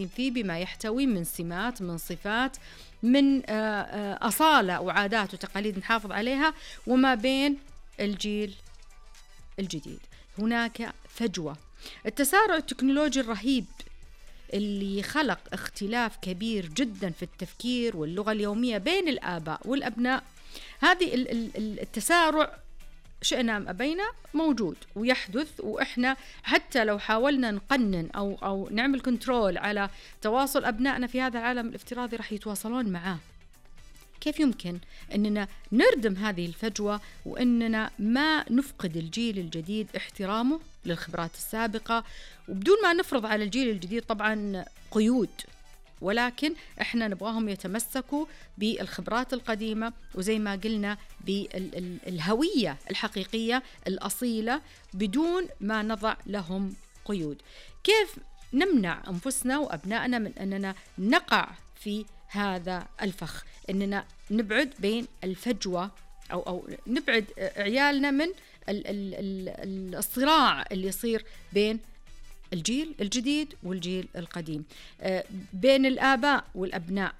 فيه بما يحتوي من سمات، من صفات، من أصالة وعادات وتقاليد نحافظ عليها، وما بين الجيل الجديد هناك فجوة. التسارع التكنولوجي الرهيب اللي خلق اختلاف كبير جدا في التفكير واللغة اليومية بين الآباء والأبناء. هذه التسارع شئنا أم أبينا موجود ويحدث، وإحنا حتى لو حاولنا نقنن أو نعمل كنترول على تواصل أبنائنا في هذا العالم الافتراضي رح يتواصلون معاه. كيف يمكن أننا نردم هذه الفجوة وأننا ما نفقد الجيل الجديد احترامه للخبرات السابقة، وبدون ما نفرض على الجيل الجديد طبعا قيود، ولكن احنا نبغاهم يتمسكوا بالخبرات القديمة، وزي ما قلنا بالهوية الحقيقية الأصيلة بدون ما نضع لهم قيود. كيف نمنع أنفسنا وأبنائنا من أننا نقع في هذا الفخ، أننا نبعد بين الفجوة أو نبعد عيالنا من الصراع اللي يصير بين الجيل الجديد والجيل القديم، بين الآباء والأبناء.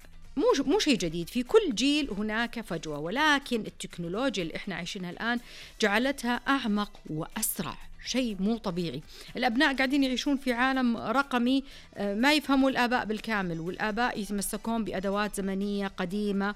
مو شيء جديد، في كل جيل هناك فجوة، ولكن التكنولوجيا اللي احنا عايشينها الآن جعلتها أعمق وأسرع، شيء مو طبيعي. الأبناء قاعدين يعيشون في عالم رقمي ما يفهموا الآباء بالكامل، والآباء يتمسكون بأدوات زمنية قديمة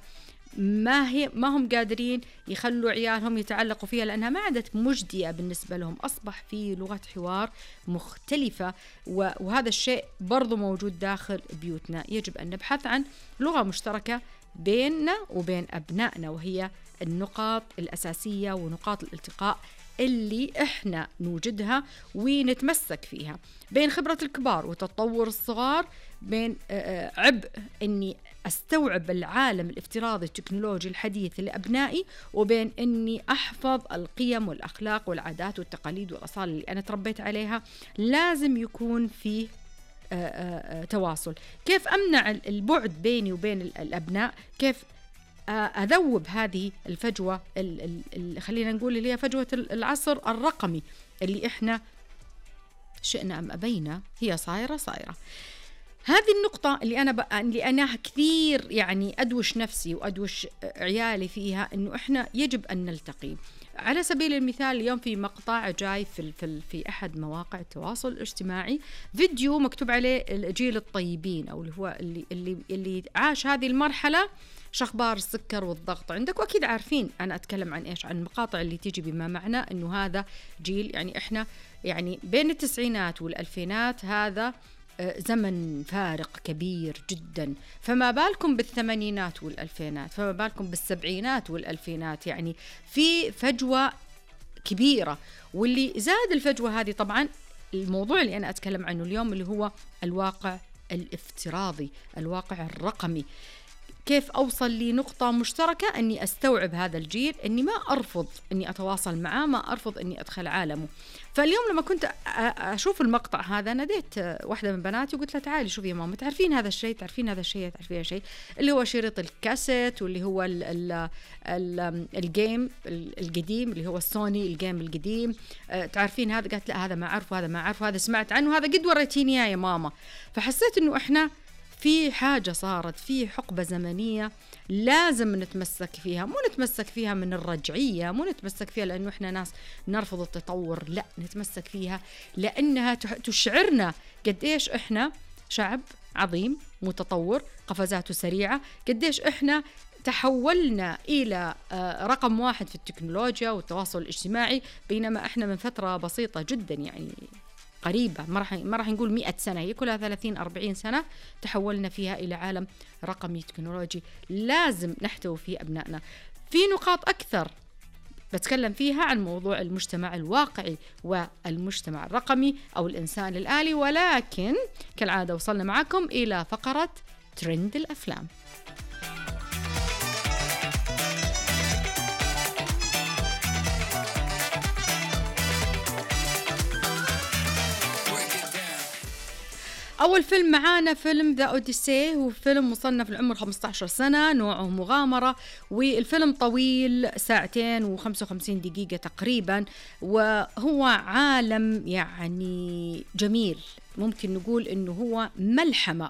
ما هم قادرين يخلوا عيالهم يتعلقوا فيها لأنها ما عادت مجدية بالنسبة لهم. أصبح في لغة حوار مختلفة، وهذا الشيء برضو موجود داخل بيوتنا. يجب أن نبحث عن لغة مشتركة بيننا وبين أبنائنا، وهي النقاط الأساسية ونقاط الالتقاء اللي إحنا نوجدها ونتمسك فيها، بين خبرة الكبار وتطور الصغار، بين عبء أني أستوعب العالم الافتراضي التكنولوجي الحديث لأبنائي، وبين أني أحفظ القيم والأخلاق والعادات والتقاليد والأصالة اللي أنا تربيت عليها. لازم يكون فيه تواصل. كيف أمنع البعد بيني وبين الأبناء؟ كيف أذوب هذه الفجوة خلينا نقول اللي هي فجوة العصر الرقمي اللي إحنا شئنا أم أبينا هي صايرة. هذه النقطة اللي أنا كثير يعني أدوش نفسي وأدوش عيالي فيها، إنه إحنا يجب أن نلتقي. على سبيل المثال اليوم في مقطع جاي في أحد مواقع التواصل الاجتماعي فيديو مكتوب عليه الجيل الطيبين، أو اللي هو اللي عاش هذه المرحلة، شخبار السكر والضغط عندك. وأكيد عارفين أنا أتكلم عن إيش، عن المقاطع اللي تيجي بما معنى إنه هذا جيل يعني إحنا يعني بين التسعينات والألفينات، هذا زمن فارق كبير جدا. فما بالكم بالثمانينات والألفينات، فما بالكم بالسبعينات والألفينات، يعني في فجوة كبيرة. واللي زاد الفجوة هذه طبعا الموضوع اللي أنا أتكلم عنه اليوم، اللي هو الواقع الافتراضي، الواقع الرقمي. كيف أوصل لنقطة مشتركة أني أستوعب هذا الجيل، أني ما أرفض أني أتواصل معاه، ما أرفض أني أدخل عالمه. فاليوم لما كنت أشوف المقطع هذا ناديت واحدة من بناتي وقلت لها تعالي شوفي يا ماما، تعرفين هذا الشيء، تعرفين هذا الشيء، تعرفين هذا الشيء اللي هو شريط الكاسيت، واللي هو الجيم القديم اللي هو السوني الجيم القديم، تعرفين هذا؟ قالت لا هذا ما أعرف، وهذا ما أعرف، وهذا سمعت عنه، هذا قد وريتيني يا ماما. فحسيت إنه إحنا في حاجة صارت، في حقبة زمنية لازم نتمسك فيها، مو نتمسك فيها من الرجعية، مو نتمسك فيها لأنه إحنا ناس نرفض التطور، لا نتمسك فيها لأنها تشعرنا قديش إحنا شعب عظيم متطور، قفزاته سريعة، قديش إحنا تحولنا إلى رقم واحد في التكنولوجيا والتواصل الاجتماعي، بينما إحنا من فترة بسيطة جدا يعني قريبة، ما راح نقول 100 سنة، هي كلها 30-40 سنة تحولنا فيها إلى عالم رقمي تكنولوجي لازم نحتوي فيه أبنائنا. في نقاط أكثر بتكلم فيها عن موضوع المجتمع الواقعي والمجتمع الرقمي أو الإنسان الآلي، ولكن كالعادة وصلنا معكم إلى فقرة ترند الأفلام. أول فيلم معانا فيلم ذا أوديسي، هو فيلم مصنف لعمر 15 سنة، نوعه مغامرة، والفيلم طويل 2 و55 دقيقة تقريبا، وهو عالم يعني جميل، ممكن نقول إنه هو ملحمة